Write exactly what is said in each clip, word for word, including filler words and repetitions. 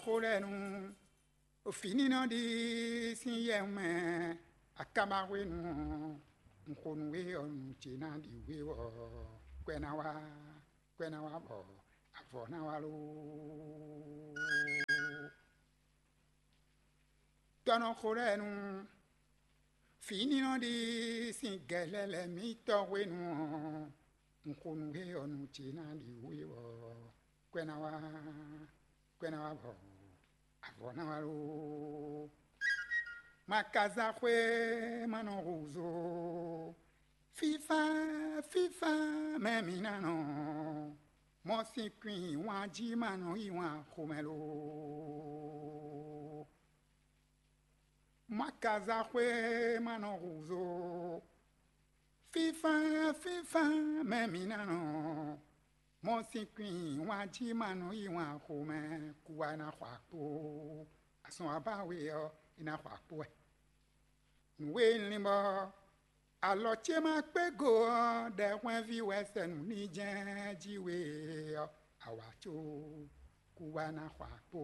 Xó lɛ́ɛ nu, ɖo fǐnínɔ ɖi sín yɛ mɛ, akaba hwenu ɔ́, un xo nú we ɔ́, nǔ ce ná ɖi we ɔ́, kwɛ ná wá, kwɛ ná wá bɔ avɔ ná wá loo. Tɔ́ nɔ xo lɛ́ɛ nu, fǐnínɔ ɖi sín gɛ̌lɛ́ lɛ́ɛ mǐtɔn hwenu ɔ́, un xo nú we ɔ́, nǔ ce ná ɖi we ɔ́, kwɛ ná wá, kwɛ ná wá bɔ avɔ ná wá loo. Ma ka za xwé ma nɔ húzú. Fífá, fífá mɛ mǐ ná nɔ. Mɔ sín kwín wǎn jí ma nɔ yí wǎn xomɛ lo. Ma ka za xwé ma nɔ húzú. Fífá, fífá mɛ mǐ ná nɔ. Mɔ sín kwín wǎn jí ma nɔ yí wǎn xomɛ. Kú wá ná xɔ akpó. Asɔn abáwe ɔ́, é ná xɔ akpó wɛ. Nǔ e un lin bɔ alɔ ce ma kpé go ɔ́, ɖɛhwɛ́nví wɛ sɛ nǔ ní jɛ́n jí we ɔ́, awǎ có kú wá ná xɔ akpó.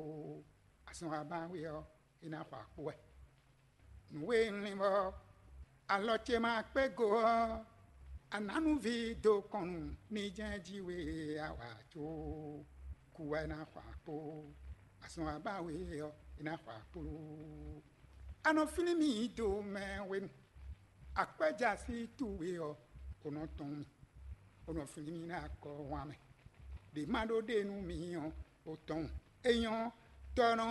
Azɔn abáwe ɔ́, é ná xɔ akpó wɛ. Nǔ e un lin bɔ alɔ ce ma kpé go ɔ́, anǎnúví dó kɔn nú ní jɛ́n jí we awǎ có kú wá ná xɔ akpó. Azɔn abáwe ɔ́, é ná xɔ akpó. A nɔ flín mì do mɛ hwenu. Akwɛ́jasí towe ɔ́, o nɔ tɔn mì, o nɔ flín mì ná akɔ hwan mɛ. Ɖě ma ɖó ɖe nú mi ɔ́, o tɔn. É nyɔ́, tɔ́ nɔ